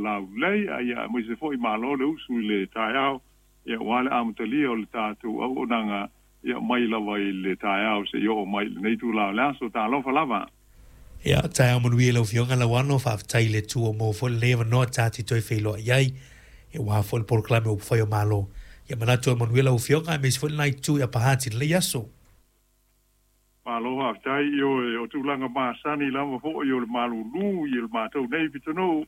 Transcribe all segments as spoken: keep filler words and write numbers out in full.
laulelei, ia aemaise foi malo le usu i le taeao ia aua le amatalia o le tatou auaunaga ia mai lava i le taeao seia oo mai i lenei itula o le aso. Talofa lava. Ia, taeao manuia i lau Afioga Lauano, faafetai i le Atua ua maua foi lenei avanoa ta te toe feiloai ai, aua foi le polokalame o Upufai o Malo. Ia manatu e manuia lau Afioga aemaise foi lena itu i Upper Hutt i lenei aso. Malo faafetai. Ioe, o tulaga masani lava foi o le malulu i le matou nei pitonuu,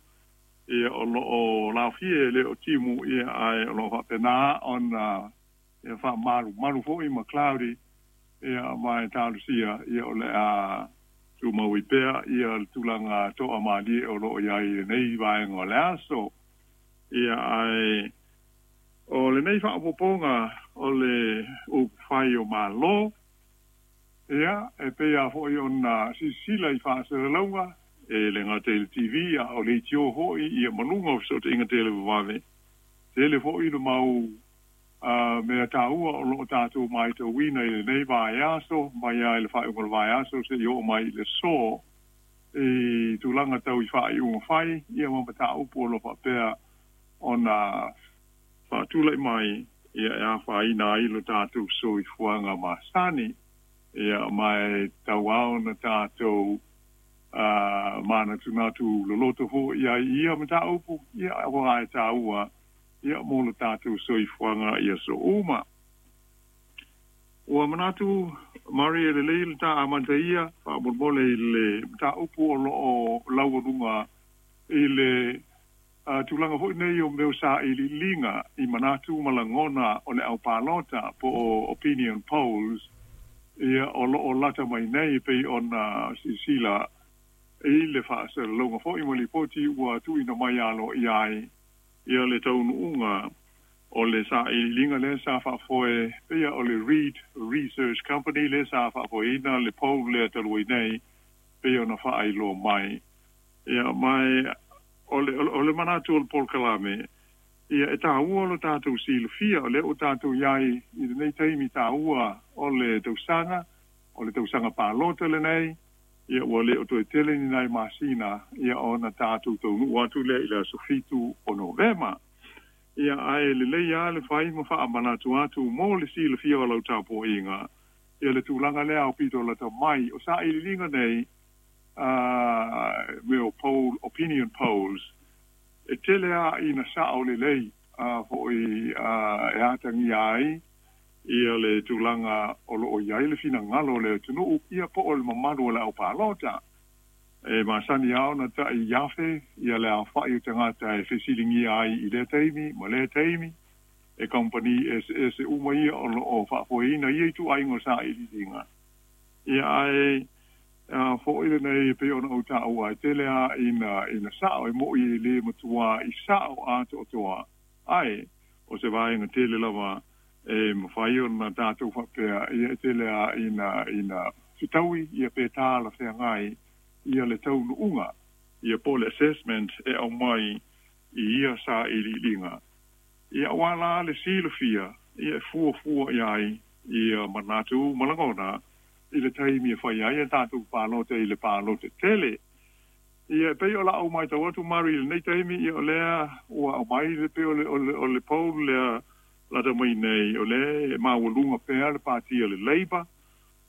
ia o lo o laofie e le o timu, ia ae o lo o faapena ona ia faamalumalu foi ma cloudy, ia ma e talosia ia o le a tumau ai pea ia le tulaga toamalie o lo o i ai i lenei vaega o le aso. Ia ae o lenei faaopoopoga o le upufai o Malo, ia e pei lava foi ona silasila i faasalalauga e le gata i le T V a o le leitio foi ia ma luga o fesootaiga televavave, tele foi le mau uh, mea taua o lo o tatou matauina i lenei vaiaso, mai lava i le faaiuga o le vaiaso seia oo mai i le aso, i tulaga tau i faaiuga fai ia ma mataupu o lo o faapea ona faatulai mai ia e afaina ai lo tatou soifuaga masani. Ia ma e tauao na tatou uh, manatunatu loloto foi ai i ia mataupu ia aua e taua ia mo lo tatou soifuaga i aso uma. Ua manatu Mari e lelei le ta amata ia faamolemole i le mataupu o lo o laualuga i le uh, tulaga foi nei o mea o sailiiliga i manatu ma lagona o le aupalota po o opinion polls ia o lo o lata mai nei, pei ona silasila i le faasalalauga foi ma lipoti ua tuuina mai aloaia ai ia le taunuuga o le sailiiliga lea sa faafoe pei o le Reid Research Company lea sa faafoeina le poll lea talu ai nei, pei ona faailoa mai. Ia ma o le, o le manatu o le polokalame, ia e taua lo tatou silafia o lea ua tatou i ai i lenei taimi taua o le tausaga, o le tausaga palota lenei. Ia ua le o toe tele ni nai masina ia ona tatou taunuu atu lea i le aso fitu o Novema. Ia ae lelei lava le fai ma faamanatu atu mo le silafia o lau tapuaiga ia le tulaga lea aupito lata mai o sailiiliga nei, uh, mea o poll, opinion polls, e tele a ina sao lelei uh, foi uh, e atagia ai ia le tulaga o lo o i ai le finagalo o le atunuu ia po o le mamalu o le aupalota. E masani lava ona tai afe ia le aofai o tagata e fesiligia ai i lea taimi ma lea taimi e kamupani eseese uma ia o lo o faafoeina ia ituaiga o sailiiliga. Ia ae a foi lenei e pei ona ou taua e tele a ina ina sao, e mo'i e lē matuā i sao atoatoa, ae o se vaega tele lava e mafai ona tatou faapea ia e tele a ina ina fetaui ia pe talafeagai ia le taunuuga ia po le assessment e aumai i ia sailiiliga. Ia aua la le silafia ia e fuafua i ai ia manatu ma lagona i le taimi e fai ai a tatou palota i le palota tele. Ia e pei o la'u matau atu, Mari, i lenei taimi, ia o lea ua aumai le pei o le, o le, o le poll lea lata mai nei, o lea e maualuga pea le patia le Labour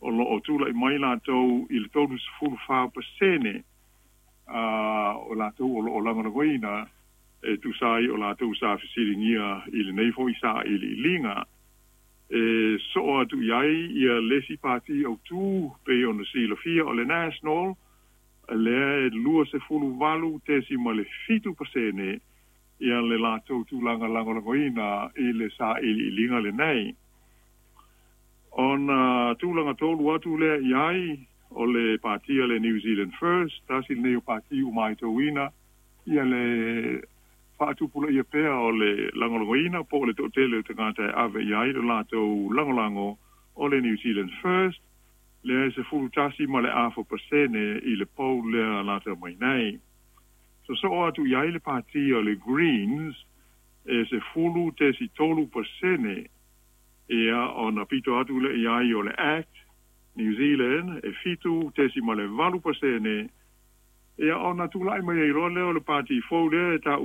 o lo o tula'i mai latou i le tolusefulu fa pasene o latou o lo o lagolagoina e tusa ai o latou sa fesiligia i lenei foi sailiiliga. E soo atu i ai ia le isi pati autū pei ona silafia o le National, lea e luasefulu valu tesima le fitu pasene ia le latou tulaga lagolagoina i le sailiiliga lenei. Ona tulaga tolu atu lea i ai o le patia le New Zealand First, tasi lenei o pati ua matauina ia le faatupulaia pea o le lagolagoina po o le toatele o tagata e ave i ai le latou lagolago o le New Zealand First, lea e sefulu tasi ma le afa pasene i le poll lea lata mai nei. Sosoo atu i ai le patia le Greens e sefulu tesi tolu pasene. Ia ona pito atu le i ai o le Act New Zealand e fitu tesi ma le valu pasene. Ia ona tula'i mai ai loa lea o le pati fou lea e taua